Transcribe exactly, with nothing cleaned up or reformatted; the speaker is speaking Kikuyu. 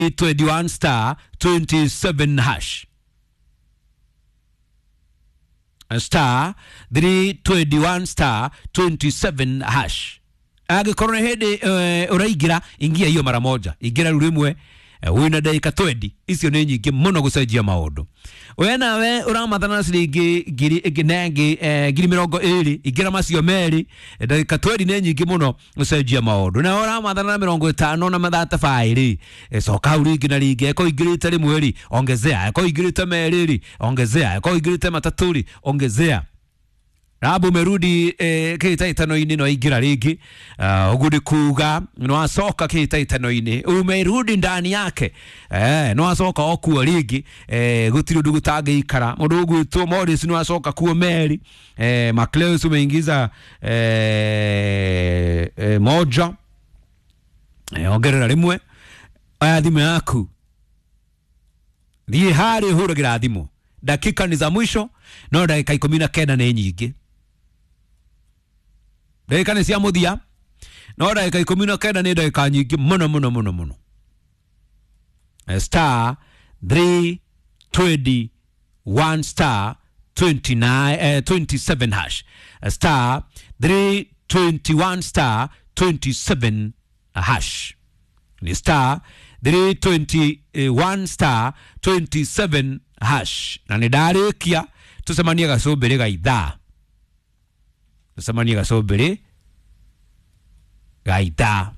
twenty-one star twenty-seven hash, star three twenty-one star twenty-seven hash. Angĩkorwo nĩ hĩndĩ uh, ũraingĩra, ingia hiyo mara moja, ingĩra rĩu rĩmwe, eh, wĩna ndagĩka mĩrongo ĩrĩ, icio nĩ nyingĩ mũno gũcenjia maũndũ. We nawe ũramathana na ciringi ngiri ĩngĩ na ĩngĩ, eh, ngiri mĩrongo ĩrĩ, ingĩra macio merĩ, eh, ndagĩka mĩrongo ĩrĩ nĩ nyingĩ mũno gũcenjia maũndũ. Nawe ũramathana na mĩrongo ĩtano na mathata baĩ rĩ, eh, coka hau rĩngĩ na rĩngĩ. Eko ingĩrĩte rĩmwe rĩ, ongezea. Eko ingĩrĩte merĩ rĩ, ongezea. Eko ingĩrĩte matatũ rĩ, ongezea. Rabu umerudi eh, kĩhĩtahĩtano-inĩ, no ingĩra rĩngĩ. uh, ũguo nĩ kuga no acoka kĩhĩtahĩtano-inĩ, umerudi ndani yake, eh, no acoka o kuo rĩngĩ, eh, gũtirĩ ũndũ gũtangĩikara. Mũndũ ũgwĩtwo Morris no acoka kuo meri, eh, Macleus umeingiza eh, eh, moja, eh, ongerera rĩmwe. Oya thimũ yaku, thiĩ harĩ hũragĩra thimũ, dakika ni za mwisho, no ndagĩka ikũmi na kenda nĩ nyingĩ. Ndagĩka nĩ cia mũthia, no ndagĩka ikũmi na kenda nĩ ndagĩka nyingĩ mũno mũno mũno mũno. Eh, star three twenty-one star twenty-nine, eh, twenty-seven hash, star three twenty-one star twenty-seven hash, ni star three twenty-one star twenty-seven hash. Na nĩ ndarĩkia, tũcemanie gacũmbĩrĩ ga ithaa, tũcemanie gacũmbĩrĩ ga ithaa.